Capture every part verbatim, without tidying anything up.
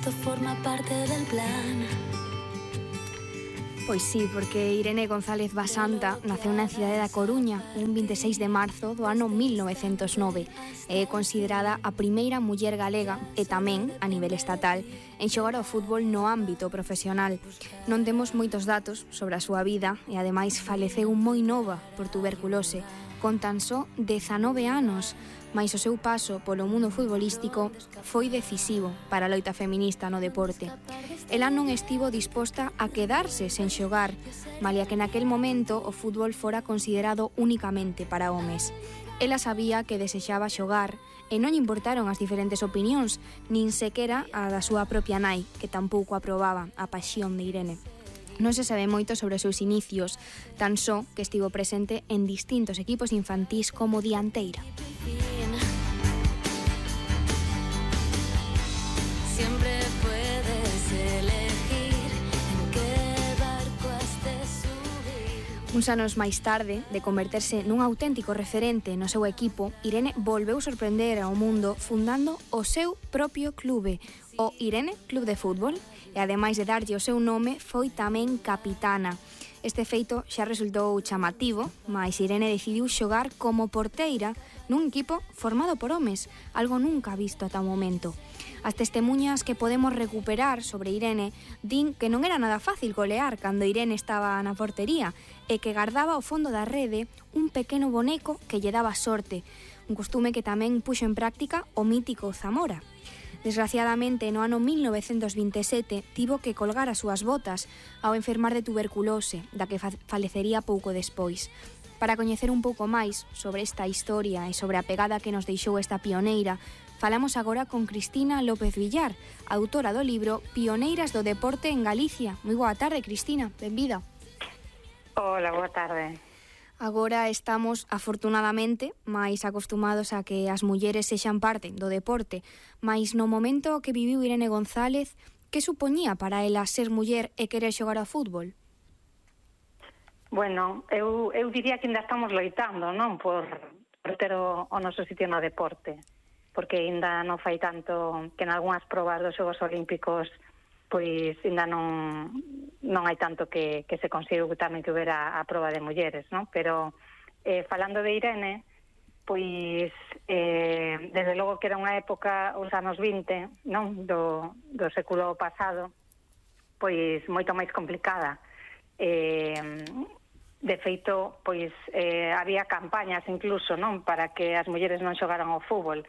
esto forma parte del plan. Pois sí, porque Irene González Basanta naceu na cidade da Coruña un veintiséis de marzo do ano mil novecentos nove e é considerada a primeira muller galega e tamén, a nivel estatal, en xogar ao fútbol no ámbito profesional. Non temos moitos datos sobre a súa vida e ademais faleceu moi nova por tuberculose, con tan só dezanove anos, mais o seu paso polo mundo futbolístico foi decisivo para a loita feminista no deporte. Ela non estivo disposta a quedarse sen xogar, malia que naquel momento o fútbol fora considerado únicamente para homes. Ela sabía que desexaba xogar e non importaron as diferentes opinións, nin sequera a da súa propia nai, que tampouco aprobaba a pasión de Irene. Non se sabe moito sobre os seus inicios, tan só que estivo presente en distintos equipos infantís como dianteira. Siempre puedes elegir en qué barco has de subir. Uns anos máis tarde, de converterse nun auténtico referente no seu equipo, Irene volveu sorprender ao mundo fundando o seu propio clube, o Irene Club de Fútbol, e ademais de darlle o seu nome, foi tamén capitana. Este feito xa resultou chamativo, mais Irene decidiu xogar como porteira nun equipo formado por homes, algo nunca visto ata o momento. As testemunhas que podemos recuperar sobre Irene din que non era nada fácil golear cando Irene estaba na portería e que gardaba ao fondo da rede un pequeno boneco que lle daba sorte, un costume que tamén puxo en práctica o mítico Zamora. Desgraciadamente, no ano mil novecentos vinte e sete, tivo que colgar as súas botas ao enfermar de tuberculose, da que falecería pouco despois. Para coñecer un pouco máis sobre esta historia e sobre a pegada que nos deixou esta pioneira, falamos agora con Cristina López Villar, autora do libro Pioneiras do Deporte en Galicia. Moi boa tarde, Cristina, benvida. Hola, boa tarde. Agora estamos, afortunadamente, máis acostumados a que as mulleres sexan parte do deporte, mais no momento que viviu Irene González, que supoñía para ela ser muller e querer xogar ao fútbol? Bueno, eu, eu diría que ainda estamos loitando, non? Por, por ter o, o noso sitio no deporte, porque ainda non fai tanto que en algunhas probas dos Xogos Olímpicos pois ainda non, non hai tanto que, que se consigo tamén que hubiera a proba de mulleres, non? Pero eh, falando de Irene, pois eh, desde logo que era unha época, os anos vinte, non? Do, do século pasado, pois moito máis complicada. Eh, de feito, pois eh, había campañas incluso, non? Para que as mulleres non xogaran ao fútbol.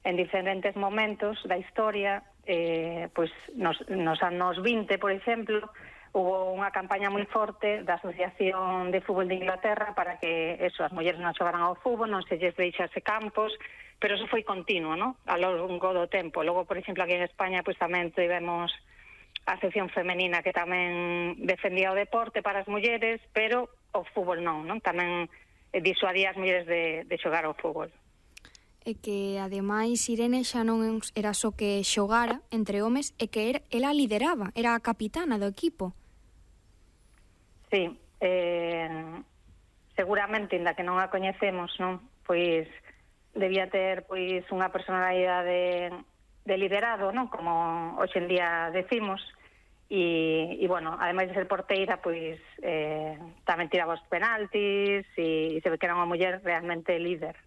En diferentes momentos da historia, eh, pois nos, nos anos vinte, por exemplo, hubo unha campaña moi forte da Asociación de Fútbol de Inglaterra para que eso, as mulleres non xogaran ao fútbol, non se lles deixase campos, pero eso foi continuo, non? A lo longo do tempo. Logo, por exemplo, aquí en España, pois tamén tivemos a sección femenina que tamén defendía o deporte para as mulleres, pero o fútbol non, non? Tamén disuadía as mulleres de, de xogar ao fútbol. E que, ademais, Irene xa non era só que xogara entre homes, e que era, ela lideraba, era a capitana do equipo. Sí, eh, seguramente, inda que non a coñecemos, non? Pois debía ter pois unha personalidade de liderado, non? Como hoxe en día decimos, e, e bueno, ademais de ser porteira, pois eh, tamén tiraba os penaltis e, e se ve que era unha muller realmente líder.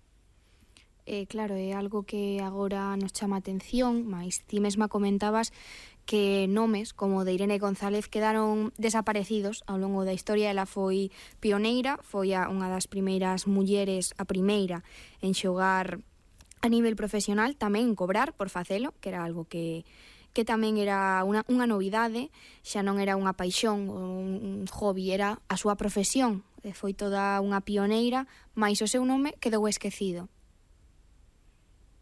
Eh, claro, é algo que agora nos chama a atención, mas ti mesma comentabas que nomes como de Irene González quedaron desaparecidos ao longo da historia. Ela foi pioneira, foi a unha das primeiras mulleres, a primeira en xogar a nivel profesional, tamén en cobrar por facelo, que era algo que que tamén era unha, unha novidade, xa non era unha paixón ou un hobby, era a súa profesión. Foi toda unha pioneira, mais o seu nome quedou esquecido.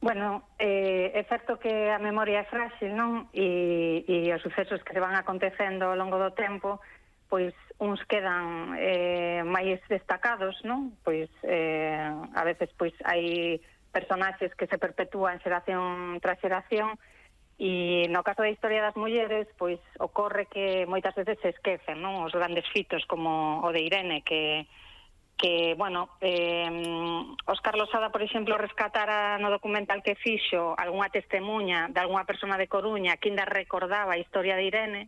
Bueno, eh, é certo que a memoria é frágil, non? E, e os sucesos que se van acontecendo ao longo do tempo, pois uns quedan eh, máis destacados, non? Pois eh, a veces pois hai personaxes que se perpetúan xeración tras xeración, e no caso da historia das mulleres, pois ocorre que moitas veces se esquecen, non? Os grandes fitos como o de Irene, que que, bueno, eh, Óscar Losada, por exemplo, rescatara no documental que fixo algunha testemunha de algunha persona de Coruña que ainda recordaba a historia de Irene,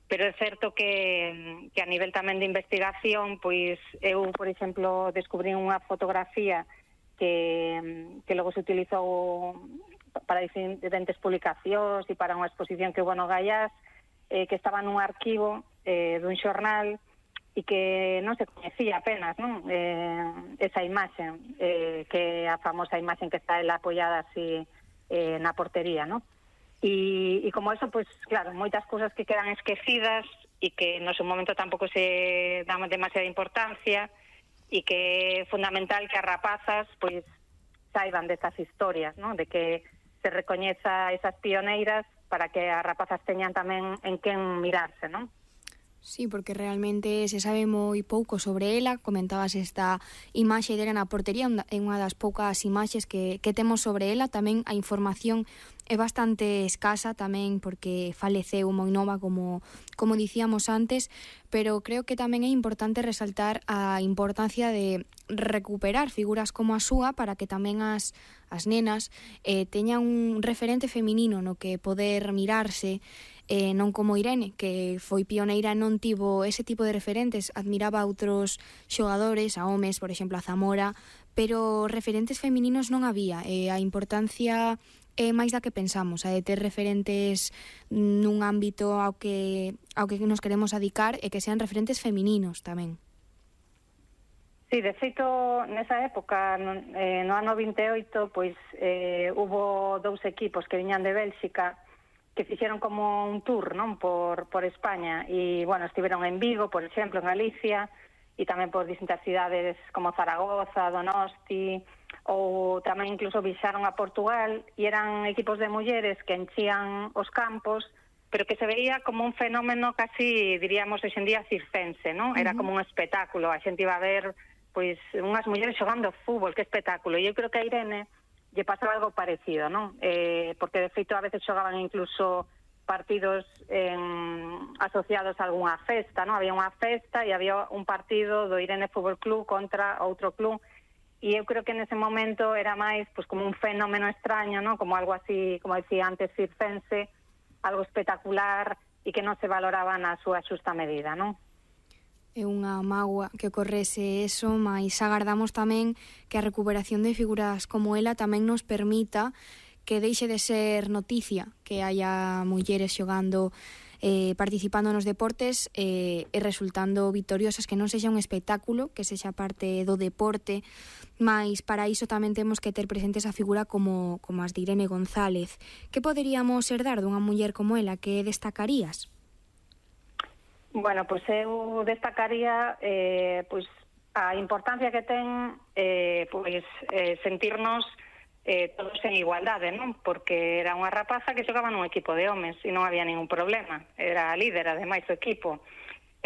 pero é certo que, que a nivel tamén de investigación, pois eu, por exemplo, descubrí unha fotografía que, que logo se utilizou para diferentes publicacións e para unha exposición que hubo no Gaiás, eh, que estaba nun arquivo eh, dun xornal e que non se coñecía apenas, non? Eh, esa imaxe, eh, que é a famosa imaxe que está ela apoiada así eh, na portería, non? E, e como eso, pues claro, moitas cousas que quedan esquecidas e que no seu momento tampouco se damos demasiada importancia e que é fundamental que as rapazas pois saiban destas historias, ¿no? De que se recoñeza esas pioneiras para que as rapazas teñan tamén en quen mirarse, ¿no? Sí, porque realmente se sabe moi pouco sobre ela. Comentabas esta imaxe dela na portería, é unha das poucas imaxes que, que temos sobre ela. Tamén a información é bastante escasa tamén porque faleceu moi nova, como, como dicíamos antes, pero creo que tamén é importante resaltar a importancia de recuperar figuras como a súa para que tamén as, as nenas eh, teñan un referente feminino no que poder mirarse, eh, non como Irene, que foi pioneira, non tivo ese tipo de referentes, admiraba a outros xogadores, a homes, por exemplo, a Zamora, pero referentes femininos non había, e a importancia é máis da que pensamos, a de ter referentes nun ámbito ao que, ao que nos queremos adicar e que sean referentes femininos tamén. Sí, de feito, nesa época, no, eh, no ano vinte e oito, pois eh, hubo dous equipos que viñan de Bélxica que fixeron como un tour, non, por, por España, e, bueno, estiveron en Vigo, por exemplo, en Galicia, e tamén por distintas cidades como Zaragoza, Donosti, ou tamén incluso viaxaron a Portugal, e eran equipos de mulleres que enchían os campos, pero que se veía como un fenómeno casi, diríamos, hoxe en día circense, non? Era como un espectáculo, a xente iba a ver, pois, unhas mulleres xogando fútbol, que espectáculo, e eu creo que a Irene lle pasaba algo parecido, non? Eh, porque de feito a veces xogaban incluso partidos en, asociados a algunha festa, non? Había unha festa e había un partido do Irene Fútbol Club contra outro club, e eu creo que nese momento era máis pues, como un fenómeno extraño, non? Como algo así, como decía antes, circense, algo espectacular e que non se valoraba na súa xusta medida, non? É unha mágoa que ocorrese eso, mas agardamos tamén que a recuperación de figuras como ela tamén nos permita que deixe de ser noticia que haya mulleres xogando, eh, participando nos deportes eh, e resultando victoriosas, que non sexa un espectáculo, que sexa parte do deporte, mas para iso tamén temos que ter presente esa figura como, como as de Irene González. Que poderíamos herdar dunha muller como ela? Que destacarías? Bueno, pois eu destacaría eh, pois a importancia que ten eh, pois eh, sentirnos eh, todos en igualdade, non? Porque era unha rapaza que xogaba nun equipo de homes e non había ningún problema. Era a líder, ademais, do equipo.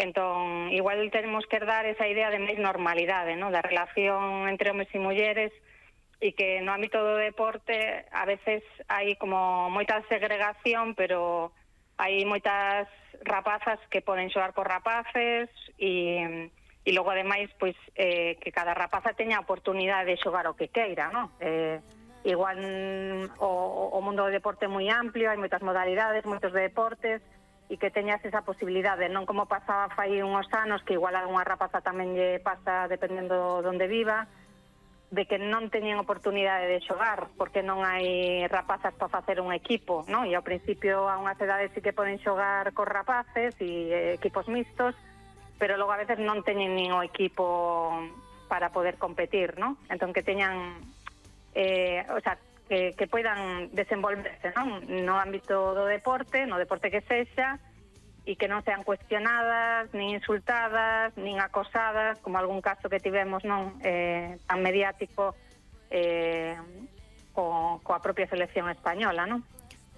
Entón, igual tenemos que dar esa idea de máis normalidade, non? Da relación entre homes e mulleres, e que no ámbito do deporte a veces hai como moita segregación, pero hai moitas rapazas que poden xogar por rapaces e, e logo ademais pois eh, que cada rapaza teña a oportunidade de xogar o que queira, non? Eh, igual o, o mundo do deporte é moi amplio, hai moitas modalidades, moitos deportes, e que teñas esa posibilidade, non como pasaba fai unhos anos, que igual a unha rapaza tamén lle pasa dependendo de onde viva, de que non teñen oportunidade de xogar porque non hai rapazas para facer un equipo, non? E ao principio a unhas edades sí que poden xogar cos rapaces e eh, equipos mixtos, pero logo a veces non teñen nin o equipo para poder competir, non? Entón que teñan eh, o sea, que, que poidan desenvolverse, non? No ámbito do deporte, no deporte que sexa, e que non sean cuestionadas, nin insultadas, nin acosadas, como algún caso que tivemos, non, eh, tan mediático eh, co, coa propia selección española, non?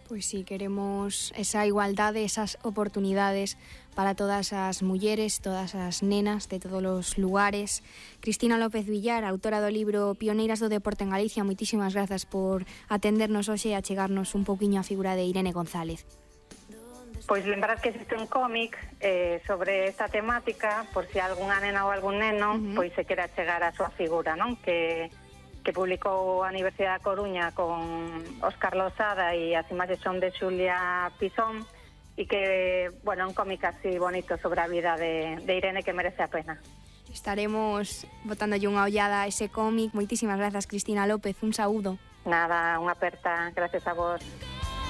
Pois sí, queremos esa igualdade, esas oportunidades para todas as mulleres, todas as nenas de todos os lugares. Cristina López Villar, autora do libro Pioneiras do Deporte en Galicia, moitísimas grazas por atendernos hoxe e achegarnos un pouquiño a figura de Irene González. Pois lembrar que existe un cómic eh, sobre esta temática, por si algunha nena ou algún neno uh-huh. pois se quera chegar a súa figura, non? Que, que publicou a Universidade da Coruña con Óscar Losada e as imaxes son de Xulia Pisón, e que, bueno, un cómic así bonito sobre a vida de, de Irene que merece a pena. Estaremos botándolle unha ollada a ese cómic. Moitísimas grazas, Cristina López, un saúdo. Nada, unha aperta, gracias a vos.